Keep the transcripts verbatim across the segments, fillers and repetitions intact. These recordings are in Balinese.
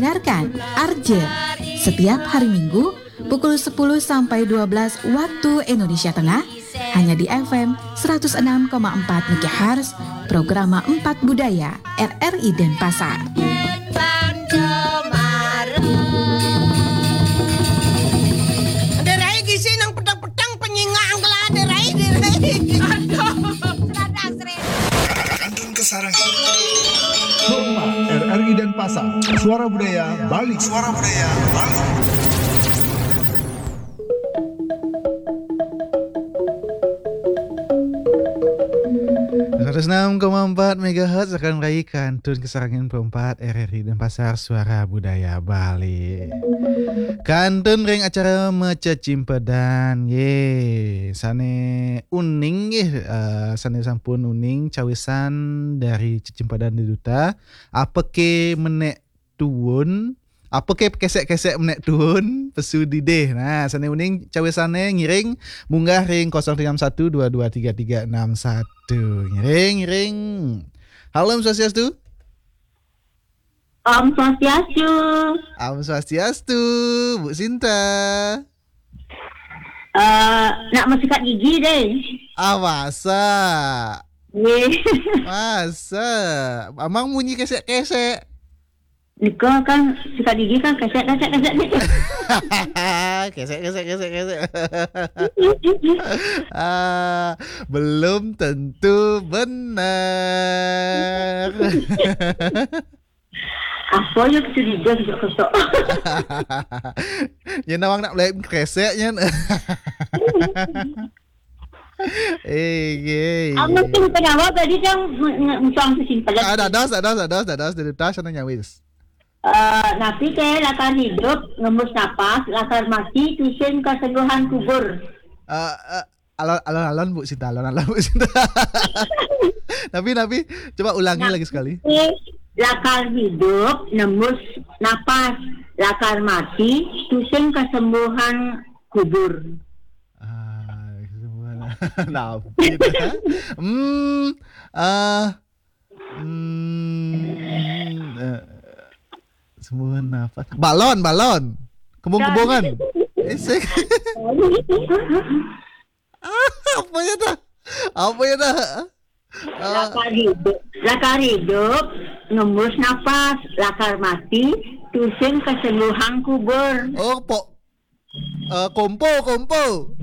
Dengarkan Arje setiap hari Minggu pukul sepuluh sampai dua belas waktu Indonesia Tengah, hanya di F M seratus enam koma empat megahertz, Programa Empat Budaya, R R I Denpasar. Derai gisi nang petang-petang penyinga angkela derai, derai. Aduh. Kantun Kesarang. Rumah R R I Denpasar, Suara Budaya Bali. Suara Budaya Bali. Seratus enam koma empat megahertz akan rai Kantun Kesarangin perempat R R I Denpasar, Suara Budaya Bali. Kantun ring acara Macecimpedan, ye. Sane uning, ye, eh, sane sampun uning cawisan dari cecimpedan deduta. Apake menek tuun, apake kesek-kesek menek tuun, pesu didih. Nah, sane uning cawisane ngiring munggah ring kosong tiga enam satu dua dua tiga tiga enam satu. Ngiring, ngiring. Halo, Om Swastiastu. Om Swastiastu. Om Swastiastu, Bu Sinta. Eh, nak mesikat gigi deh. Ah, masa? Ye. Masa? Amang munyi kesek-kesek. Nika kan sikat gigi kan kesek, kesek, kesek, kesek. Kesek, kesek, kesek, kesek. Ah, belum tentu benar. Apa ya curiga juga kesok. Ya, nawang nak mulai kresek, nyen. Eh, ye, ye. Apa tu penyawa tadi yang nge-, nge-, nge-, nge-, nge-, Ah, dados, dados, dados, dados, dari tas sana nyawis. Eh, napi ke lakar hidup, ngembus napas, lakar mati, tusin kesungguhan kubur. Eh, eh, alon, alon, alon, Bu Sinta, alon, alon, Bu Sinta. Napi, napi, coba ulangi Nah, lagi sekali. Lakar hidup, nembus napas, lakar mati, tusin kesembuhan kubur. Ah, kesembuhan. Napi dah? Hmm, ah, hmm, eh, kesembuhan napas. Balon, balon. Kembung-kembungan. Esek. Ah, apa ya dah? Apa ya dah? Ah. Lakar hidup, lakar hidup, ngembus napas, lakar mati, tusin kesembuhan kubur. Oh, pok, eh, kompo, kompo.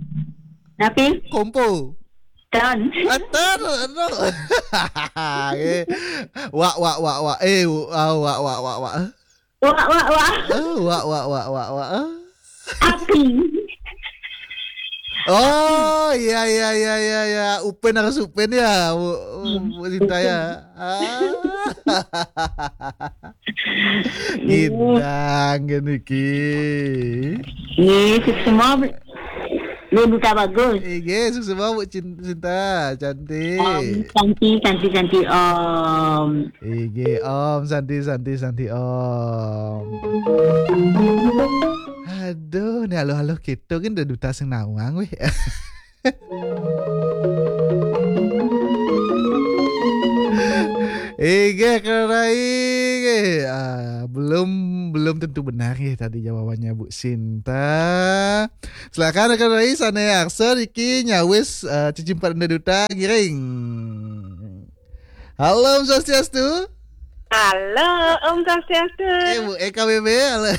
Napi? Kompo. Ton. Ah, ton, aduh. Eh. Wak, wak, wak, wak. Eh, wa-, ah, wak, wak, wak, wak. Wak, wak, wak. Ah, wak, wak, wak, wak, wak. Ah. Api. Oh, iya, iya, iya, iya, iya. Upen harus upen ya, Bu, Bu Sinta ya. Ah. Ngidang gini ki. Iya, sukses semua, Bu. Lu duta bagus. Iya, sukses semua, Bu Cin-, Sinta. Cantik. Om, cantik, cantik, cantik, Om. Ige, Om, santi, santi, santi, Om. Aduh, ni aluh-aluh kita kan dah duta sing nawang weh. Ige, kerai, ige. Ah, belum, belum tentu benar ya tadi jawabannya, Bu Sinta. Silakan rekan rai, sane arsa niki nyawis, eh, cecimpedan duta, ngiring. Halo, Om Swastiastu. Halo, Om Swastiastu. Eh, Bu Eka Bebe, halo.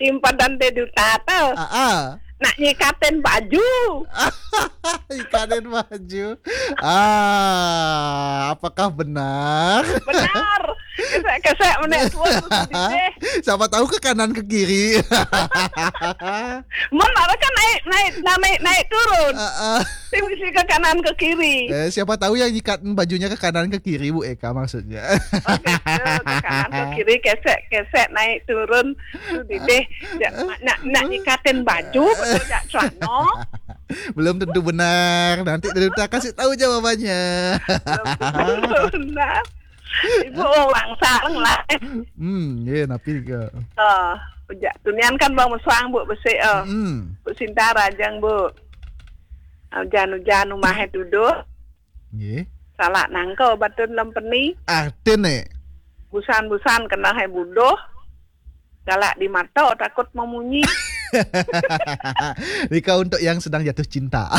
Cecimpedan deduta to. Ah, ah. Nak nyikatin baju. Nyikatin baju. Ah, apakah benar? Benar. Kesek-kesek menek tuun tu didih. Siapa tahu ke kanan ke kiri. Mun ora kan naik, naik, naik, naik turun. Ah, ah. Sing bisi ke kanan ke kiri. Eh, siapa tahu yang nyikat bajunya ke kanan ke kiri, Bu Eka maksudnya. Oh, gitu. Ke kanan ke kiri, kesek, kesek, naik turun. Tu didih. Jak, nak, nak nyikatin baju, betul jak celana. Belum tentu benar. Nanti dari kasih tahu jawabannya. Belum tentu benar. Ibu, oh, wangsa lah. Hmm, ye, napi ke? Oh, jak tunian kan bang mesuang, Bu, besik, oh. Hmm. Bu Sinta rajang, Bu. Ujan-ujan umahe tuduh. Nggih. Salak nangka batun lem peni. Artine? Busan-busan kena hai buduh. Galak di mato, takut mamunyi. Nika untuk yang sedang jatuh cinta.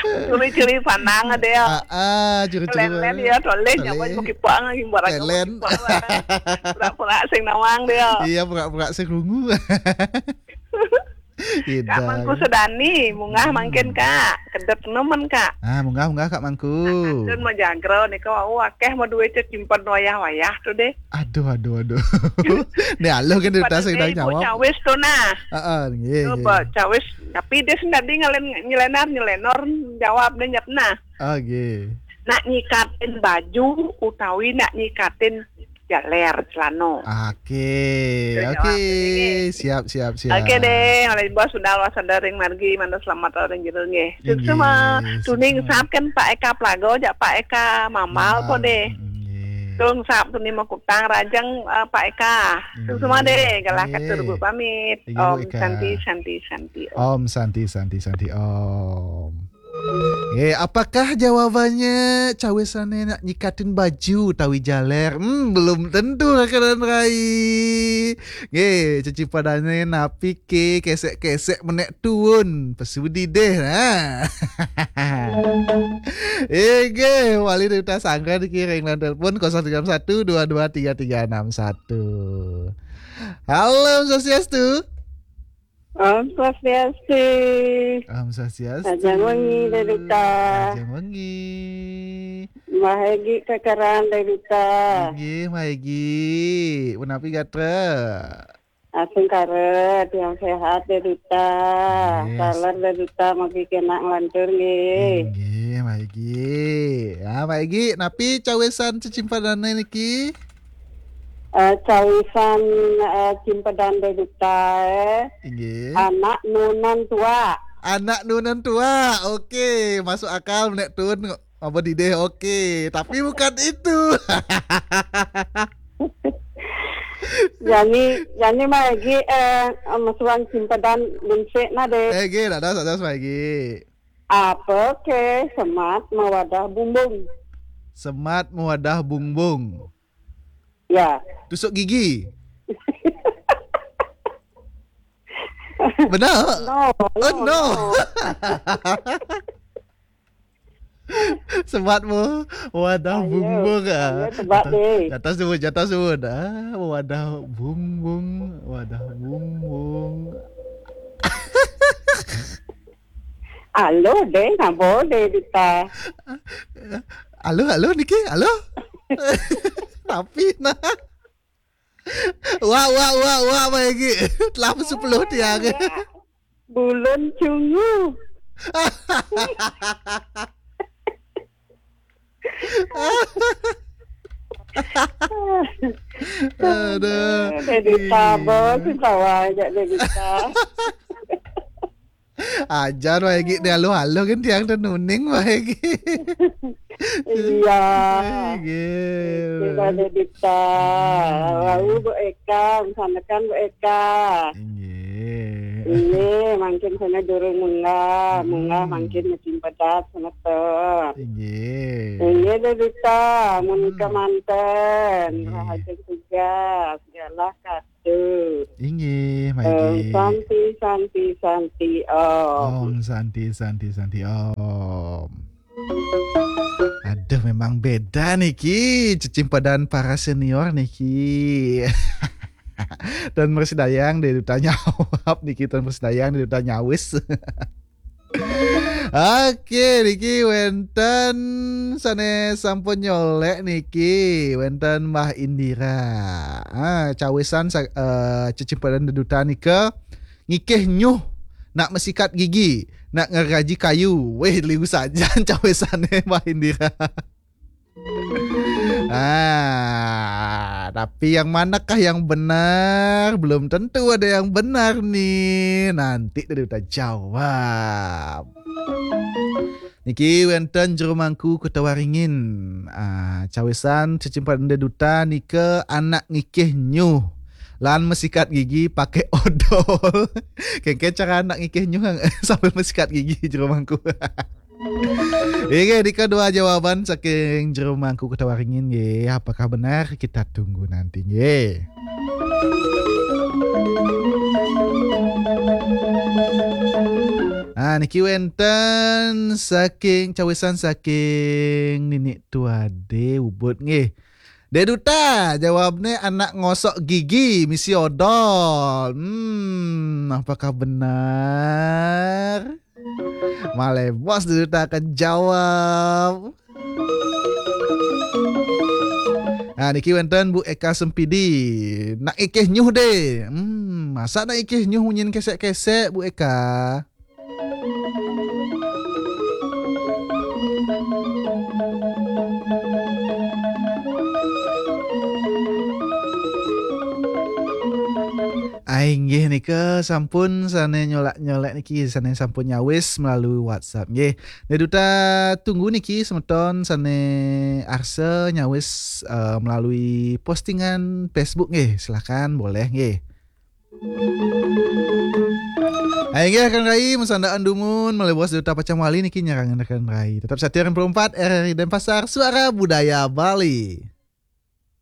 Curi-curi pandang ada ya. Ah, ah, curi-curi. Lelen ya, toleh nyawa. Toleh. Mau kipang lagi, barang. Lelen. Pura-pura sing nawang dia. Iya, pura-pura sing rungu. Kak Mangku Sedani, munggah mangkin, Kak. Kedep nemen, Kak. Ah, munggah, munggah, Kak Mangku. Nah, kantun mau jagro nih, Kak. Wau akeh mau duit cek simpen wayah-wayah tuh deh. Aduh, aduh, aduh. Nih, aloh kan dari tadi udah nyawab. Cawis tuh, nah. Heeh, nggih. Coba cawis, tapi dia sendiri ngelen-, nyelenar, nyelenor, jawab deh, nyap, nah. Oke. Nak nyikatin baju utawi nak nyikatin jaler celano. Oke, oke. Siap, siap, siap. Oke deh, oleh bos sudah luas sadar ring margi, mana selamat ring jero nggih. Sukses. Tuning sap kan Pak Eka Plago, jak Pak Eka Mamal po deh. Tung sap tuning mau kutang rajang, eh, Pak Eka. Sukses deh, galah katur Bu pamit. Om Santi, Santi, Santi, Om. Om Santi, Santi, Santi, Om. Eh, apakah jawabannya cawisane nak nyikatin baju tawi jaler? Hmm, belum tentu, Kakanan Rai. Nggih, cecipadane napi ke kesek-kesek menek tuun. Pesudi deh, nah. Nggih, wali dari utas angka dikiring lan telepon kosong tiga satu dua dua tiga tiga enam satu. Halo, Om Swastiastu. Om Swastiastu. Om Swastiastu. Rahajeng wengi, Dé Duta. Rahajeng wengi. Mbah Egi kekeran, Dé Duta. Inggih, Mbah Egi. Punapi gatra? Asung kara, tiang sehat, Dé Duta. Yes. Taler, Dé Duta, mugi kenak nglantur, nggih. Inggih, Mbah Egi. Ya, Mbah Egi, napi cawisan cecimpanane niki? Eh, cawisan, eh, cimpedan Dé Duta, eh. Inggih. Anak nunan tua. Anak nunan tua. Oke, masuk akal menek tuun. Apa dideh? Oke, tapi bukan itu. Jani, jani mah lagi, eh, mesuan cimpedan linsik na deh. Eh, gih, dados, dados, Mbah Egi. Apa ke semat mawadah bumbung? Semat mawadah bumbung. Ya. Tusuk gigi. Benar? No, oh, no, no. Semat mu, wadah bumbung, ah. Ayo, sebat deh. Jatah sebut, jatah sebut. Ah, wadah bumbung, wadah bumbung. Alo, deh, nabo, deh, Dita. Alo, alo, niki, alo. Tapi, nah. Wah, wah, wah, wah, Mbah Egi. Telah sepuluh tiang. Bulun cungu. Aduh. Dé Duta, bos, sawah aja Dé Duta. Ajar Mbah Egi, dialuh-aluh kan tiang teh nuning Mbah Egi. Iya. Nggih. Kita ada Dita. Hmm. Lalu Bu Eka, misalkan Bu Eka. Inggih. Inggih, mangkin sana durung munggah, munggah mangkin musim pedas, semeton. Inggih. Inggih, Dé Dita, mun kemanten, rahajeng tugas, galah katur. Inggih, Mbah Egi. Santi, Santi, Santi, Om. Om Santi, Santi, Santi, Om. Aduh, memang beda niki, cecimpedan para senior niki. Dan persidayang deh ditanya awap niki, dan persidayang deh ditanya wis. Oke, niki wénten sané sampun nyolek niki, wénten Mbah Indira. Ah, cawisan sa-, eh, cecimpedan Dé Duta nika ngikih nyuh nak mesikat gigi, nak ngeraji kayu. Wéh, liu sajan cawisané Mbah Indira. Ah, tapi yang manakah yang benar? Belum tentu ada yang benar nih. Nanti dulu kita jawab. Niki wénten Jero Mangku Kota Waringin. Ah, cawisan cecimpedan Dé Duta nika anak ngikih nyuh. Lan mesikat gigi pakai odol. Kéngkén cara anak ngikih nyuh sambil mesikat gigi Jero Mangku. Inggih, nika dua jawaban saking Jero Mangku Kota Waringin, nggih. Apakah benar? Kita tunggu nanti, nggih. Nah, niki wenten saking cawisan saking Ninik Tuade Ubud, nggih. Dek Duta, jawabnya anak ngosok gigi misi odol. Hmm, apakah benar? Malih bos Dek Duta akan jawab. Nah, niki wenten Bu Eka Sempidi. Nak ikih nyuh deh. Hmm, masa nak ikih nyuh munyin kesek-kesek, Bu Eka? Ai, nggih, nika sampun sane nyolak-nyolak niki, sane sampun nyawis melalui WhatsApp, nggih. Dek Duta tunggu niki semeton sane arsa nyawis, eh, melalui postingan Facebook, nggih. Silakan, boleh, nggih. Ai, nggih, rekan rai, mesandaan dumun, malih bos Dek Duta pacang wali niki nyarangan rekan rai. Tetap setia R R I Denpasar, suara budaya Bali.